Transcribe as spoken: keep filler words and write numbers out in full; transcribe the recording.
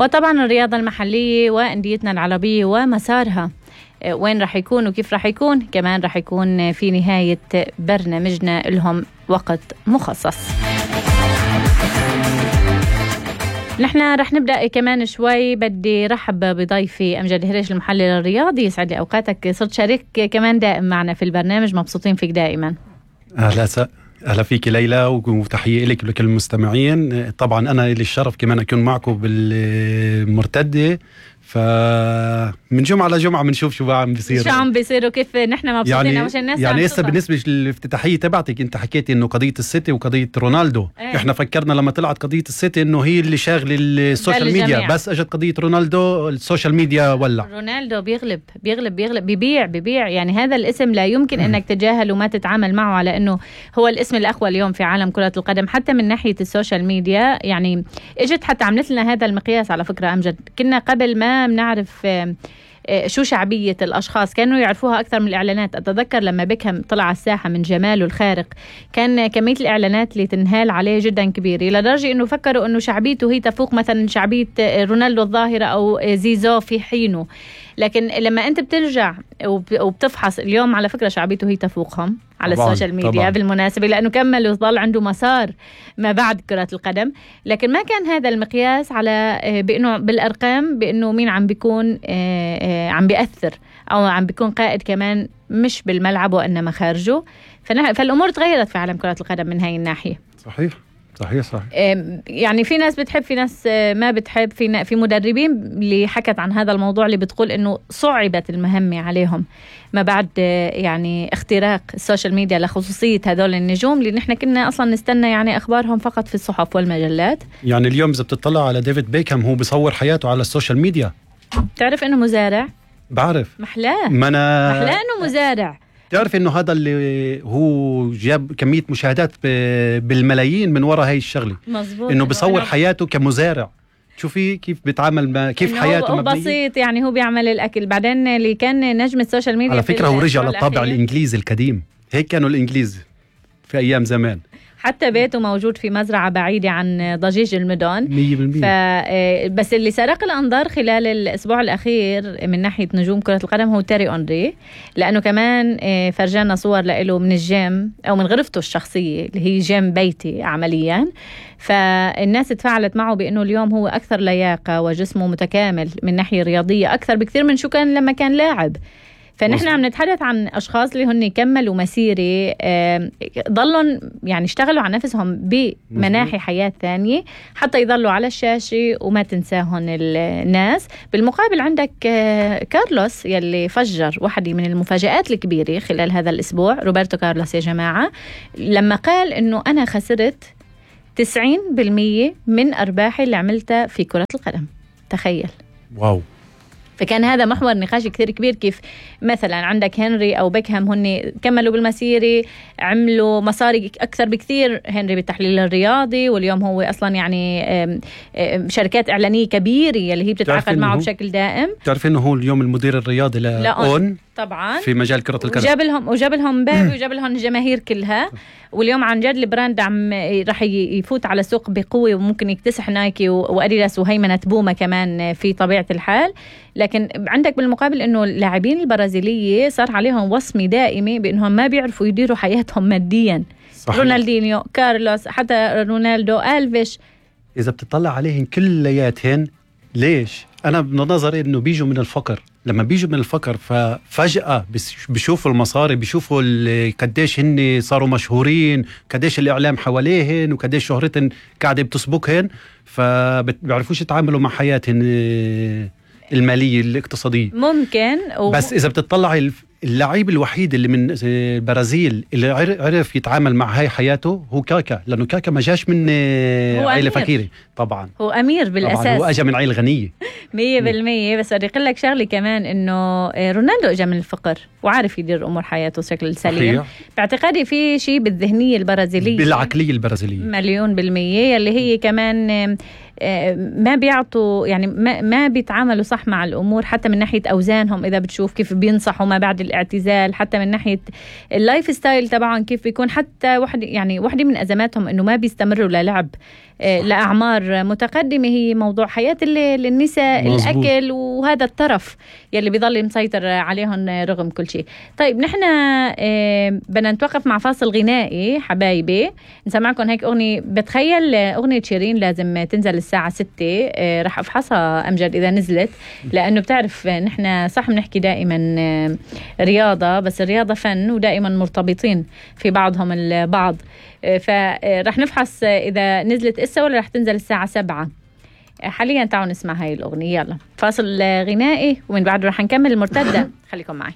وطبعا الرياضة المحلية وأنديتنا العربية ومسارها وين رح يكون وكيف رح يكون، كمان رح يكون في نهاية برنامجنا لهم وقت مخصص. نحن رح نبدأ كمان شوي. بدي رحب بضيفي أمجد هريش المحلل الرياضي. يسعد لي أوقاتك، صرت شريك كمان دائم معنا في البرنامج، مبسوطين فيك دائما. أهلا س... أهلا فيك ليلى، وتحية لك ولكل المستمعين. طبعا أنا لي الشرف كمان أكون معكم بالمرتدة، فمن جمعة لجمعة بنشوف شو عم بيصير شو عم بيصير وكيف نحن مبسوطين. يعني مش الناس يعني هسه بالنسبة للافتتاحية تبعتك أنت حكيتي إنه قضية السيتي وقضية رونالدو. ايه. إحنا فكرنا لما طلعت قضية السيتي إنه هي اللي شاغل السوشيال ميديا، بس أجت قضية رونالدو السوشيال ميديا ولع. رونالدو بيغلب بيغلب بيغلب بيبيع بيبيع يعني هذا الاسم لا يمكن إنك تتجاهل وما تتعامل معه على إنه هو الاسم الأقوى اليوم في عالم كرة القدم، حتى من ناحية السوشيال ميديا. يعني اجت حتى عملت لنا هذا المقياس على فكرة أمجد. كنا قبل ما بنعرف شو شعبية الأشخاص، كانوا يعرفوها أكثر من الإعلانات. أتذكر لما بيكهام طلع على الساحة من جماله الخارق، كان كمية الإعلانات اللي تنهال عليه جدا كبيرة، لدرجة أنه فكروا أنه شعبيته هي تفوق مثلا شعبية رونالدو الظاهرة أو زيزو في حينه. لكن لما أنت بترجع وبتفحص اليوم، على فكرة شعبيته هي تفوقهم على طبعاً السوشيال ميديا طبعاً. بالمناسبة لأنه كمل وظل عنده مسار ما بعد كرة القدم، لكن ما كان هذا المقياس على بأنه بالأرقام بأنه مين عم بيكون عم بيأثر أو عم بيكون قائد كمان، مش بالملعب وإنما خارجه. فالأمور تغيرت في عالم كرة القدم من هاي الناحية. صحيح صحيح صحيح. يعني في ناس بتحب، في ناس ما بتحب، في في مدربين اللي حكت عن هذا الموضوع اللي بتقول إنه صعبت المهمة عليهم ما بعد يعني اختراق السوشيال ميديا لخصوصية هذول النجوم اللي نحن كنا أصلا نستنى يعني أخبارهم فقط في الصحف والمجلات. يعني اليوم إذا بتطلع على ديفيد بيكهام هو بيصور حياته على السوشيال ميديا. تعرف إنه مزارع؟ بعرف محلاه ما أنا محلاه إنه مزارع. تعرف إنه هذا اللي هو جاب كمية مشاهدات بالملايين من وراء هاي الشغلة. مظبوط. إنه بيصور حياته كمزارع. شوفي كيف بيتعامل ما كيف حياته مبنية. بسيط يعني، هو بيعمل الأكل. بعدين اللي كان نجم السوشيال ميديا على فكرة هو رجع للطابع الإنجليزي القديم، هيك كانوا الإنجليز في أيام زمان. حتى بيته موجود في مزرعة بعيدة عن ضجيج المدن مية بالمية. ف... بس اللي سرق الأنظار خلال الأسبوع الأخير من ناحية نجوم كرة القدم هو تيري أونري، لأنه كمان فرجانا صور له من الجيم أو من غرفته الشخصية اللي هي جيم بيتي عمليا. فالناس تفاعلت معه بأنه اليوم هو أكثر لياقة وجسمه متكامل من ناحية رياضية أكثر بكثير من شو كان لما كان لاعب. فنحن عم نتحدث عن أشخاص اللي هن كملوا مسيرة، ضلوا يعني اشتغلوا على نفسهم بمناحي حياة ثانية حتى يضلوا على الشاشة وما تنساهن الناس. بالمقابل عندك كارلوس يلي فجر واحدة من المفاجآت الكبيرة خلال هذا الأسبوع، روبرتو كارلوس يا جماعة، لما قال إنه أنا خسرت تسعين بالمية من أرباحي اللي عملتها في كرة القدم. تخيل. واو. فكان هذا محور نقاش كثير كبير، كيف مثلا عندك هنري أو بيكهام هن كملوا بالمسيرة، عملوا مصاري أكثر بكثير. هنري بالتحليل الرياضي، واليوم هو أصلا يعني شركات إعلانية كبيرة اللي هي بتتعاقد معه بشكل دائم. تعرف إنه هو اليوم المدير الرياضي لأون طبعا في مجال كرة القدم، وجاب لهم وجاب لهم بابي وجاب لهم الجماهير كلها. واليوم عن جد البراند عم راح يفوت على السوق بقوة، وممكن يكتسح نايكي وأديداس وهيمنة بوما كمان في طبيعة الحال. لكن عندك بالمقابل إنه اللاعبين البرازيلية صار عليهم وصمة دائمة بأنهم ما بيعرفوا يديروا حياتهم ماديا. صحيح. رونالدينيو، كارلوس، حتى رونالدو، ألفيش، إذا بتطلع عليهم كلياتهن. ليش؟ أنا بنظري إنه بيجوا من الفقر. لما بيجوا من الفقر ففجأة بيشوفوا المصاري، بيشوفوا قديش هن صاروا مشهورين، قديش الإعلام حواليهن وقديش شهرتهن قاعدة بتسبقهن، فبيعرفوش يتعاملوا مع حياتهن المالية الاقتصادية. ممكن و... بس إذا بتطلع اللعيب الوحيد اللي من البرازيل اللي عرف يتعامل مع هاي حياته هو كاكا، لأنه كاكا ما جاش من عائلة فقيرة. طبعا هو أمير بالأساس. طبعاً هو أجا من عائلة غنية مية بالمية. بس بدي أقول لك شغلي كمان إنه رونالدو أجا من الفقر وعارف يدير أمور حياته بشكل سليم. باعتقادي في شيء بالذهنية البرازيلية، بالعقلية البرازيلية مليون بالمية، اللي هي كمان ما بيعطوا يعني ما, ما بيتعاملوا صح مع الأمور، حتى من ناحية أوزانهم إذا بتشوف كيف بينصحوا ما بعد الاعتزال، حتى من ناحية اللايف ستايل طبعا كيف بيكون. حتى واحد يعني واحدة من أزماتهم إنه ما بيستمروا للعب لأعمار متقدمة، هي موضوع حياة النساء، مزبوط. الأكل وهذا الطرف يلي بيضل مسيطر عليهم رغم كل شيء. طيب نحن بدنا نتوقف مع فاصل غنائي حبايبي، نسمعكم هيك أغنية. بتخيل أغنية شيرين لازم تنزل الساعة ستة، رح أفحصها أمجد إذا نزلت، لأنه بتعرف نحن صح بنحكي دائما رياضة، بس الرياضة فن ودائما مرتبطين في بعضهم البعض، فرح نفحص إذا نزلت إسا ولا رح تنزل الساعة سبعة. حاليا تعالوا نسمع هاي الأغنية. يلا فاصل غنائي ومن بعد رح نكمل المرتدة. خليكم معي.